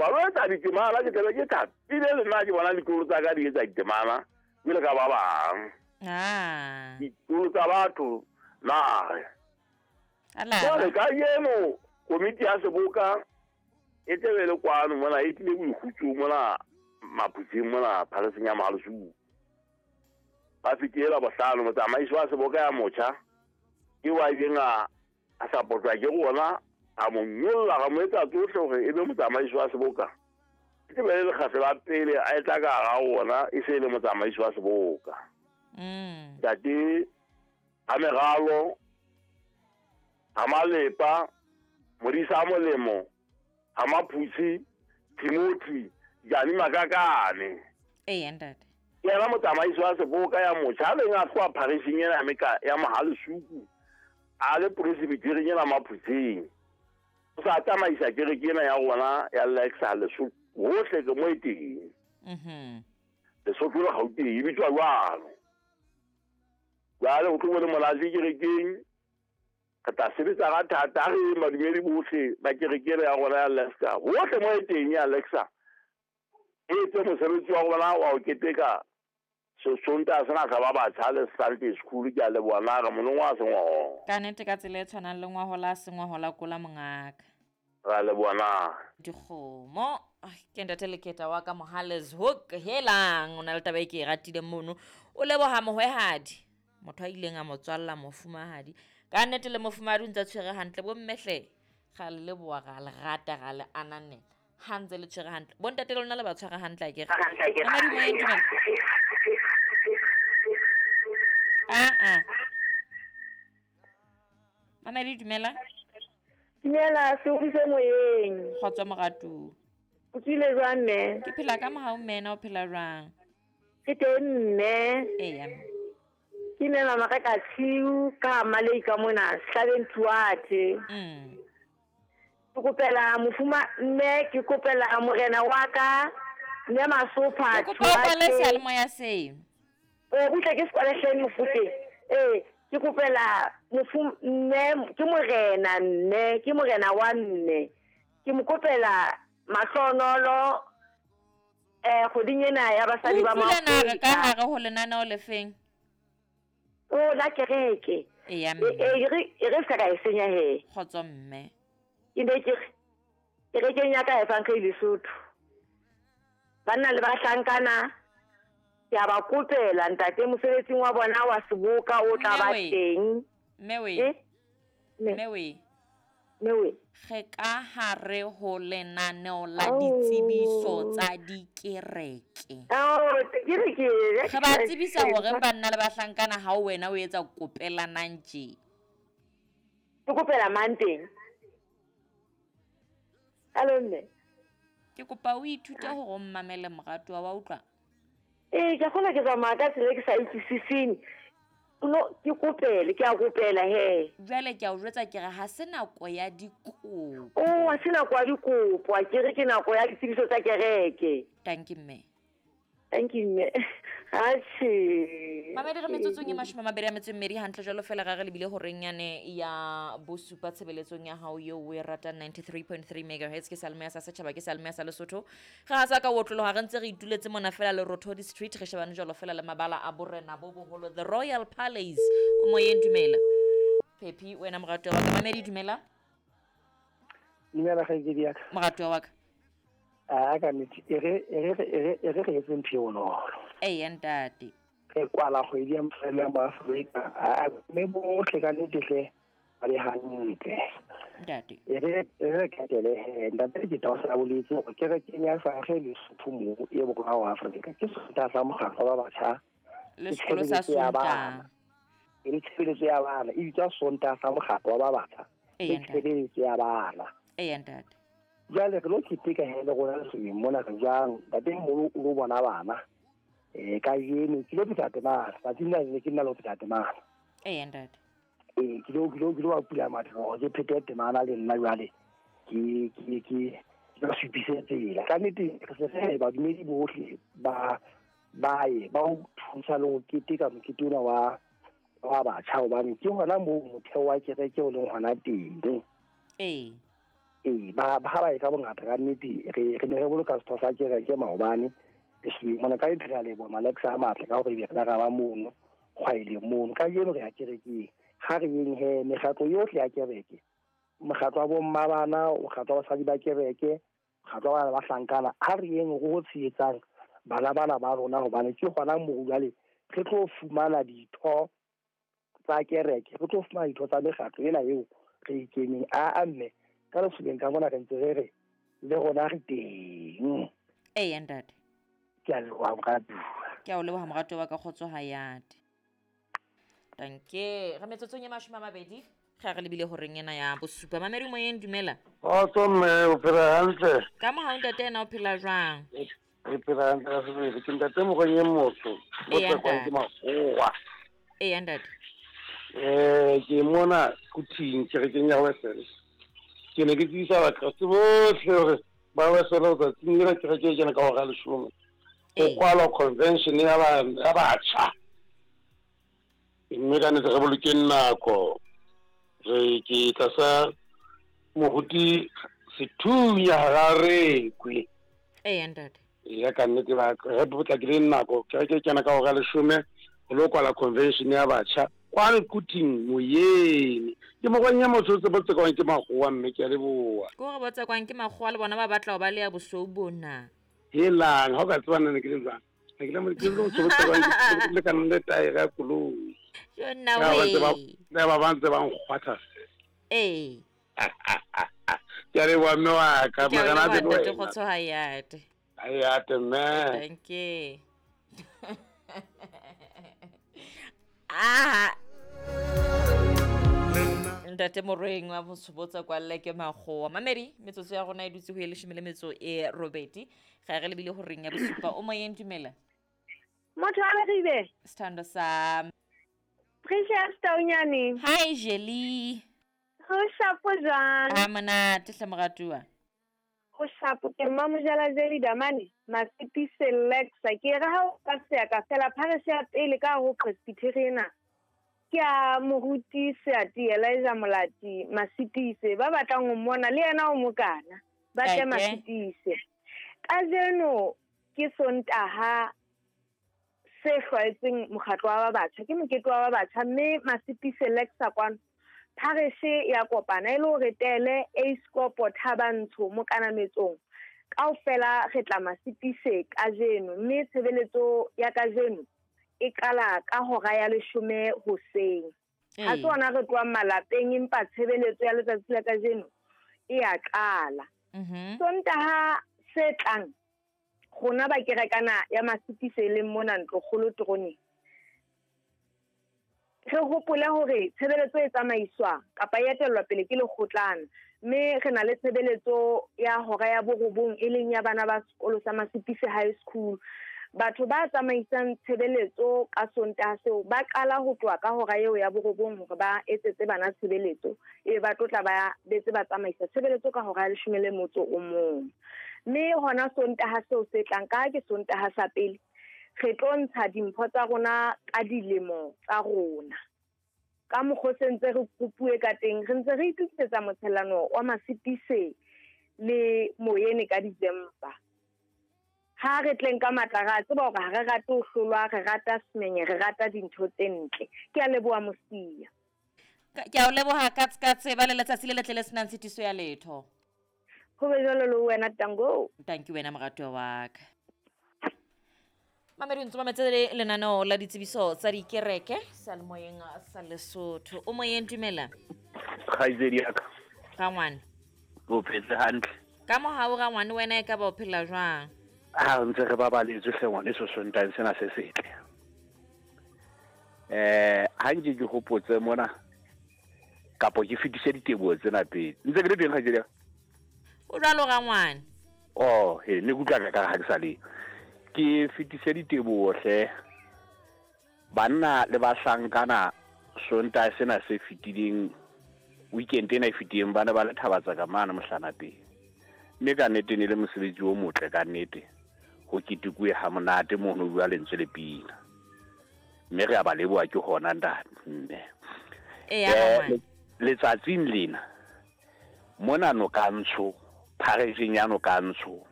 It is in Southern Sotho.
Ba lo etsa ditemana, ke tlabe ke thabile le nna ke bona ditloholo tsa ka di etsa ditemana jwalo ka ba bang. Ditloholo tsa batho nare. Jwale kajeno komiti ya seboka e tlebe le kwano mona e tlile boikgutsong mona Maphutseng mona phaleseng ya Mohalesuku. Ba fetile la bohlano motsamaisi wa seboka ya motjha ke wa ileng a a sapotwa ke rona a mo nyolla ra mo etsa tsohle hore e be motsamaisi wa seboka. E tlebe le lekgetlo la pele a etla ka hara rona e se e le motsamaisi wa seboka. Ntate a meralo a malepa modisa a molemo a maphutsi Timothy Jani Makakane. Ee ntate. Ke yena motsamaisi wa seboka ya motjha a neng a tloha pharising ena ya meka ya Mohalesuku a le presbyterieng ena Maphutseng. O sa tsamaisa kereke ena ya rona ya Lexa Lesotho hohle ke mo e teng. Lesotho le Gauteng e bitswa jwalo. Jwale ho tlo bo le monate kerekeng. Re tla sebetsa ka thata re madumedi bohle ba kereke ena ya rona ya Lexa hohle mo e teng ya Lexa e etse mosebetsi wa rona wa ho keteka Sontaha sena sa ba batjha le Sunday school. Ke a leboha na re monongwa a sengwaho. Ka nnete ka tsela e tshwanang le ngwahola a sengwahola kola mongaka. Ra leboha na. Dikgomo ke ntate Leketa wa ka Mohales Hook helang o na le taba e ke e ratileng mono o leboha mohwehadi motho a ileng a mo tswalla mofumahadi ka nnete le mofumahadi o ntse a tshwere hantle bommehle ga le leboha ra le rata ra le ananela ha ntse le tshwere hantle bontate le lona le ba tshwara hantle akere Mamadi moyeng dumela aa Mamedi dumela. Dumela se moyeng. Kgotso moratu. O tswile jwang mme? Ke phela ka mohau mme na o phela jwang? Ke teng mme. Eya. Ke mme mama ka ka tshiu ka Malei ka mona Hlabeng Thuate. Ke kopela mofuma mme ke kopela morena wa ka mme Masopha. Ke kopa o kwale seyalemoya seno. O butle ke se kwale hleng mofute. Ee. Ke kopela mofu mme ke morena mme ke morena wa mme ke mo kopela mahlonolo kgweding ena ya basadi ba Utlwile na re ka Maafrika. hare ho lenaneo lefeng? O la kereke. Eya mme. E re se ka e senya he. Kgotso mme. Ke ne ke re kerekeng ya ka Evangeli Lesotho. Banna le bahlankana ke a ba kopela ntate mosebetsing wa bona wa seboka o tla ba teng. Mme we. Mme we. Mme we. Re ka hare ho lenaneo la ditsebiso tsa dikereke. Re ba tsebisa hore banna le bahlankana ha wena o etsa kopelanang tje. Ke kopela mang teng? Hello mme. Ke kopa o ithute hore o mmamele moratuwa wa utlwa. Ee, ke kgona ke tsamaya ka tsela e ke sa utlwisiseng. No, ke kopele, ke a kopela he. Jwale ke a o jwetsa ke re ha se nako ya dikopo. Oh, ha se nako ya dikopo, a ke re ke nako ya ditsebiso tsa kereke. Thank you mme. Thank you mme. Atjhe. Mamedi re metsotsong e 24 hantle jwalo fela ra re lebile horeng yane ya bosupa tshebeletsong ya hao eo o e ratang 93.3 megahertz ke Salmeya sa setjhaba ke Salmeya sa Lesotho. Re ha sa ka otloloha re ntse re ituletse mona fela le Rothodi Street re shebane jwalo fela le mabala a borena bo boholo the Royal Palace. O moyeng dumela. Pepi wena moratuwa wa ka. Mamedi dumela. Dumela kgaitsedi ya ka. Moratuwa wa ka. A ka nnete e re re etse ntho e bonolo. Eya ntate. Re kwala kgwedi ya mofela mo Afrika. A mme bohle ka nnete hle ba le hantle. Ntate. E re ketele he ntate ke tla boletse hore kerekeng ya Evangeli Lesotho mo e borwa wa Afrika ke Sontaha sa mokgatlo wa batjha. Le sekolo sa Sontaha. E le tshebeletso ya bana e bitswa Sontaha sa mokgatlo wa batjha. Eya E tshebeletso ya bana. Eya ntate. Jwale re lo keteka he le rona Lesotho mona re jwang ntate moholo o lo bona bana. Kajeno ke lo pheta temana tsatsing la ke nna lo pheta temana. Eya ntate. Ke lo ba pula matlo ke phete temana le nna jwale ke ba supise tsela. Ka nnete re se re badumedi bohle ba ye ba o thusa le ho keteka mokete ona wa batjha hobane ke hona moo motheo wa kereke o leng hona teng. Ee. Ee, ba ha ba e ka bongata ka nnete re ne re boloka setho sa kereke maobane lesobeng mona. Ka nnete re a leboha Malexa a matle ka hore ebe re la ra ba mono kgwaeleng mono. Kajeno re ya kerekeng, ha re yeng he mekgatlo yohle ya kereke, mokgatlo wa bomma bana, mokgatlo wa basadi ba kereke, mokgatlo wa bana ba hlankana, ha re yeng re ho tshehetsang bana bana ba rona, hobane ke hona moo jwale re tlo fumana ditho tsa kereke, re tlo fumana ditho tsa mekgatlo ena eo re e keneng. Aa mme ka lesobeng ka mona re ntse re re le rona re teng. Eya ntate. Ke a leboha moratuwa. Ke a o leboha moratuwa wa ka, kgotso hayate. Danke. Re metsotsong e 20 ge re lebile horeng ena ya bosupa. Mamedi moyeng, dumela. Kgotso mme, o phela hantle? Ka mohau ntate, ena o phela jwang? Re phela hantle ka sebele. Ke ntate Mokweng e motho, o Eya, tsekwang ke ntate. makgowa. Eya ntate. Ke mona Quthing kerekeng ya Wesele. Ke ne ke tsebisa Bakreste bohle hore ba Wesele tsatsing lena kereke e kena ka hora ya 10. Ho Ee. kwalwa convention ya ya batjha. Mme ka nnete re bolokeng nako. Re ke tlasa moruti Sethunya hara rekwe. Eya ntate. Ya ka nnete ba re potlakileng nako, kereke e kena ka hora ya 10 ho lo kwala convention ya batjha kwano Quthing moyeng. Ke Mokweng e motho o tsekwang ke makgowa mme, ke a leboha. Ke hore bo tsekwang ke makgowa le bona ba batla ho ba le ya bosweu bona. Helang, ha o ka tseba nna ne ke le jwang. Ha ke le ke le motho o tsekwang ke lekana le taere ya koloi. Jo nna Ya ba ntse ba we. ya ba ba ntse ba nkgwatha. Ee. Ke a leboha mme wa ka, Ke a o Morena a leboha be le ntate, wena. kgotso hayate. Hayate mme. Danke. Ah. Ntate Morweng wa motho bo tsekwalle ke makgowa. Mamedi, metsotso ya rona e dutse ho e 18. Ga re lebile horeng ya bosupa. O moyeng, dumela. Motho a Leribe. Sithando sa Precious Taunyane. Hi Jelly. Ho shapo jwang? A monate hle moratuwa. Ho shapo ke Mmamojela Jelly Damane, Masipise Lexa. Ke re ha o ka seya ka fela parish ya pele ka ho Presbyterian. Ke a moruti Seati Elijah Molati Masipise, ba batlang ho mmona le yena o mokana. Ba tle Okay. Masipise. Kajeno ke Sontaha se hlwaetseng mokgatlo wa ba batjha, ke mokete wa ba batjha, mme Masipise Lexa kwano phareshe ya kopana e le hore tele Eiskopo Thabantsho mokanametsong kaofela re tla Masipise kajeno, mme tshebeletso ya kajeno e qala ka hora ya 10 hoseng. Ha se hona re tlohang malapeng, empa tshebeletso ya letsatsi la kajeno e ya qala. Sontaha se tlang rona ba kerekana ya Masipise e leng mona Ntlokgolo teroneng, re hopole hore tshebeletso e tsamaiswa kapa e etellwa pele ke lekgotlana, mme re na le tshebeletso ya hora ya 9 e leng ya bana ba sekolo sa Masipise High School. Batho ba tsamaisang tshebeletso ka Sontaha seo ba qala ho tloha ka hora eo ya 9 hore ba etsetse bana tshebeletso, ebe ba tlotla ba betse ba tsamaisa tshebeletso ka hora ya 11. Mme hona Sontaha seo se tlang, ka ke Sontaha sa pele, re tlo ntsha dimpho tsa rona ka dilemo tsa rona. Ka mokgwa o se ntse re kopuwe ka teng, re ntse re itokisetsa motshellano wa Masipise le Moyene ka December. Ha re tleng ka matla, ra tseba hore ha re rate ho hlolwa, re rata semenye, re rata dintho tse ntle. Ke a leboha Mosia. Ke a o leboha ka tseba le letsatsi le letle le senang tshitiso ya letho. Ho be jwalo le wena, Tango. Thank you wena moratuwa wa ka. Mamedi, ntse mametse le lenaneo la ditsebiso tsa dikereke seyalemoyeng sa Lesotho. O moyeng, dumela. Kgaitsedi ya ka. Rangwane. O phetse hantle. Ka mohau rangwane, wena e ka ba o phela jwang? Ha ntse re babaletswe hle ngwaneso Sontaheng sena se setle. Ha nke ke hopotse mona kapo ke fetise diteboho tsena pele. Ntse ke le teng kgaitsedi ya ka? O jwalo rangwane. Oh, he, ne ke utlwa ka ha ke sa le. Ke fetise diteboho hle. Banna le bahlankana Sontaha sena se fetileng, weekend ena e fetileng, ba ne ba le thabatsa ka mane mohlanapeng. Mme ka nnete ne le mosebetsi o motle ka nnete. Ho ketekuwe ha monate mono ho bua lentswe le pina. Mme re a ba leboha ke hona ntate mme. Eya, rangwane. Letsatsing lena Mona Nokantsho, phareseng ya Nokantsho.